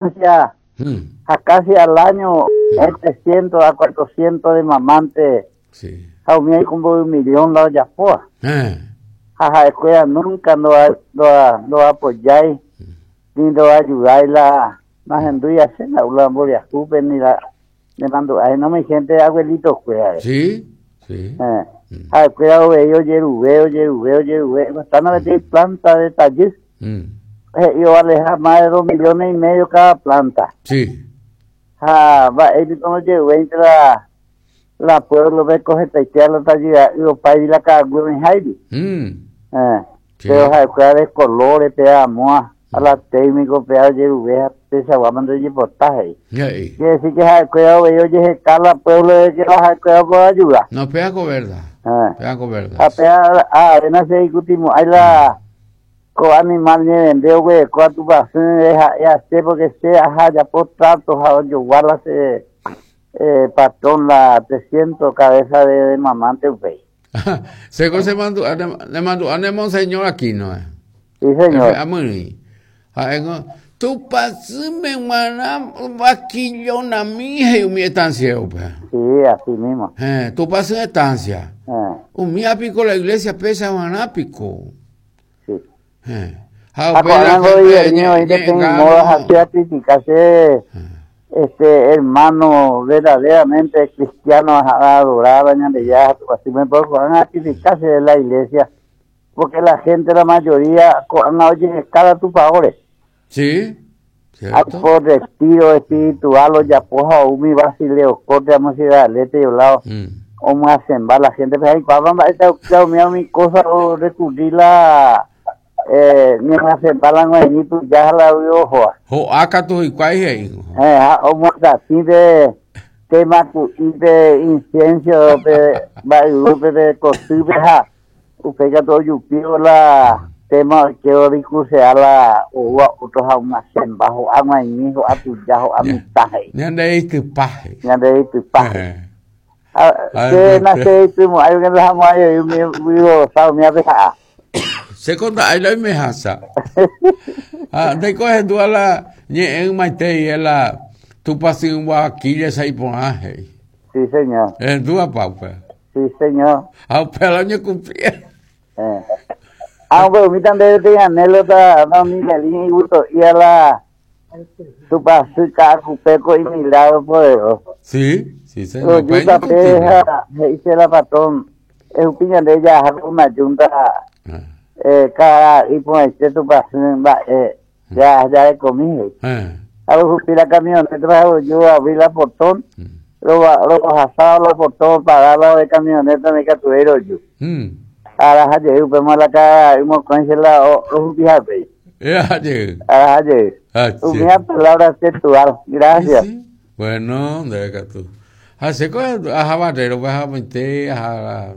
estancia ha casi al año es 300 a 400 de mamante Sí. ha umi oiko mboy millón la ojapóva. Ha ha'ekuéra nunca ndoapoyái ni ndoayudái la nahendúi asẽ la mboriahúpe ni la nemandu'ái no mi gente abuelito kuérare. Sí, sí. Ha'ekuéra ovei ojeruve, ojeruve, ojeruve, bastante peteĩ planta de tajy. He'i ovaleha más de 2 millones y medio cada planta. Sí. Ha mba'éipi ojeruvéinte la la pueblo-pe ko hetaite la tajyra'y opáivi la ka'aguy oĩháivi. Sí. Pero ha'ekuéra de colores pe amóa a la técnico pe ojeruve ha peichagua ndojepota he'i. He'i. Quiere decir que ha'ekuéra ovei ojeheka la pueblo de que la ha'ekuéra pueda ayudar. No, péa ko verdad. Péa ko verdad. Ha péa avena che aikutimo'ãi la ko animal ñevende oguereko Tupãsy ha'e ase porque che aja ajapo trato ha ojogua la che patrón la 300 cabeza de mamante upéi. Che ko chemandu'a, nemandu'a ne monseñor Aquino. Sí, señor. Amyrỹi. Ha'éngo Tupãsýme g̃uarã vaquillonami he'i umi estanciero-pe. Sí, así mismo. Héẽ, Tupãsy estancia. Umíva piko la iglesia péicha g̃uarã piko. Sí. Héẽ. Ha upéi la gente ko'ág̃a oĩ peteĩ moda ha che acritica che este hermano verdaderamente cristiano ha adoraba Ñandejára ha Tupãsýme, pero ko'ág̃a acritica che la iglesia porque la gente la mayoría ko'ág̃a ojeheka la tupãóre. Sí, cierto. Por retiro espiritual ojapo ha umi Basileo Corte amo Ciudad del Este lado omyasẽmba la gente pe jaikuaápa mba'éicha umi umi cosa orecurrir la ñemyasẽmba la g̃uaig̃ui tuja ha la yvy ohóva. Ho'a katu hikuái he'i. Ha omyasatĩ pe tema ku'i pe incienso pe mba'yrúpe pe kotýpe ha upéi katu ojupívo la tema oikévo discursea la oúva otro ha omyasẽmba ho'a g̃uaig̃ui ho'a tuja ho'a mitã he'i. Ñande reitypa he'i. Ñande reitypa he'i. Che nachereitymo'ãi porque ndahamo'ãi voi umi vyrosa umi apeha'a. Che ko nda'ái la oimehácha. Ha ndéiko ehendúva la ñe'ẽ ymaite la Tupãsy Guayaquil-cha iporã he'i. Sí, señor. Ehendúvapa upéva? Sí, señor. Ha upéva la oñekumplí. Ha upe umi tande peteĩ anécdota don Miguelín igusto'íva la Tupãsy Ka'akupe ko imilagro poderoso. Sí, sí, señor. Roju tape ha he'i che la patrón, ehupi ñande jaha ko una junta cada iporãite Tupãsy mba'e ja jarekomi he'i. Ha rohupi la camioneta ha roju abri la portón, rohasa la portón pagar la de camioneta ndaikatuvéi roju. Araha jey upéma la kararay mokõi che la rohupi hapéi. Eraha jey. Araha jey. Umíva palabra textual. Gracias. Sí, sí. Bueno, ndéve katu. Ha che ko aha Barrero-pe ahamoite aha la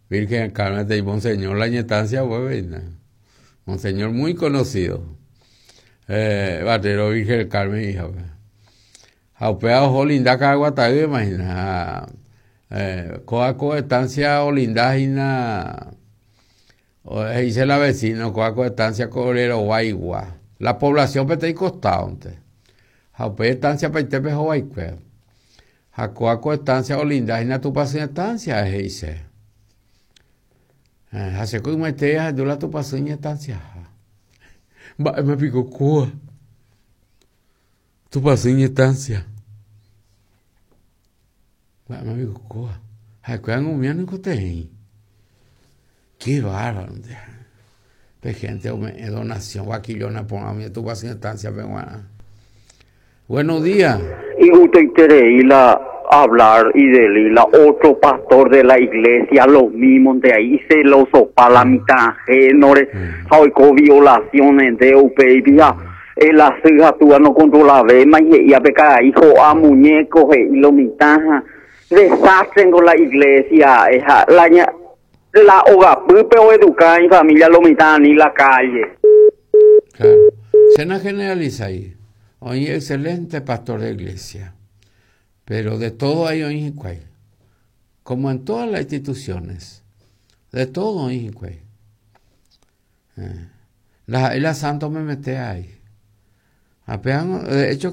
Virgen del Carmen de Monseñor la ñetancia upépe. Monseñor muy conocido. Barrero Virgen del Carmen híjape. Ha upéva oho olinda Caraguatay imagina. Ha kóva ko estancia olinda hína he'ise la vecino kóva ko estancia ko ore rovaigua. La población peteĩ costado-nte. Ha upéi estancia paitépe hovaikue. Ha kóva ko estancia olinda hína Tupãsy estancia he'ise. Ha che ko ymaite ahendu la Tupãsy iñestanciaha. Mba'éma piko kóva? Tupãsy iñestancia. Mba'éma piko kóva? Ha'ekuéra umíva noikotevẽi. Qué bárbaro nde. Pe gente ome'ẽ donación vaquillona porã umi Tupãsy estancia-pe g̃uarã. Buenos días. Igustoiterei la hablar y deli la otro pastor de la iglesia lo mismo nde ahí icelosopa la mitã ajénore ha oiko violaciones nde upéipi ha el asy ha túa no controlavéma he'ía pe karai ho'a muñeco he'i lo mitã ha desastre ngo la iglesia ha la ña la ogapýpe oeduka ifamilia lo mitã ani la calle. Claro. Se na generalizai. Oĩ excelente pastor de iglesia. Pero de todo hay oĩ hikuái. Como en todas las instituciones. De todo oĩ hikuái. Ndaha'éi la santo memete ai. Ha péva de hecho.